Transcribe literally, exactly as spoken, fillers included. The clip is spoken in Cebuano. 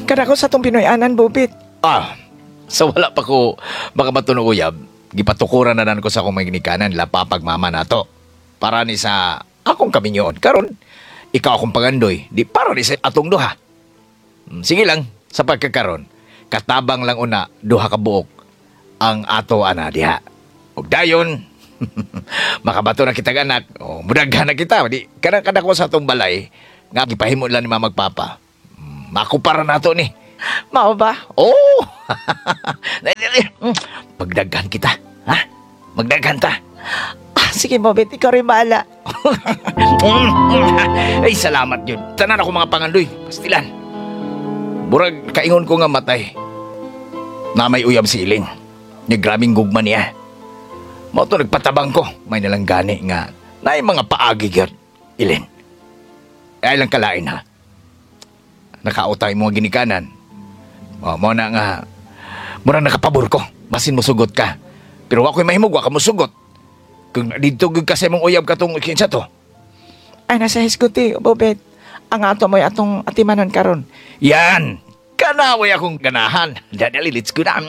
Kadako sa atong Pinoy-anan, Bobit. Ah, sa wala pa ko makabaton og uyab, gipatukuran na ko sa akong mga ginikanan la papag mama nato. Para ni sa akong kaminyoon. Karon, ikaw akong pangandoy, di para ni sa atong duha. Mm, Sige lang, sa pagkakaron, katabang lang una duha ka buok ang ato ana diha. Ug dayon, makabato na kitag anak, o mudaghan na kita, di kanang kadako sa atong balay nga gipahimo lang ni mama ug papa. Mm, Makupara nato ni. Mao ba? Oh! Pagdaghan kita, ha? Magdaghan ta. Ah, sige, Bobit, ikaw rin bahala. Ay, salamat yun. Tanan ako mga pangandoy. Pastilan. Murag kaingon ko nga matay. Na may uyab si Ilin. Nga grabing gugma niya. Mao to nagpatabang ko. May nalang gani nga. Naay mga paagi gyud. Ilin. Ay lang kalain ha. Nakautang imong ginikanan. O, mao na nga. Mura nakapabor ko. Basin mo sugot ka. Pero wa ko'y mahimog, wa ka mo sugot. Kung dito gyud ka sa imong uyab katong kinsa to. Ay, nasa hisguti, Bobit. Ang ato mo'y atong atimanon karon. Yan! Kanaway akong ganahan. Dali, let's go na.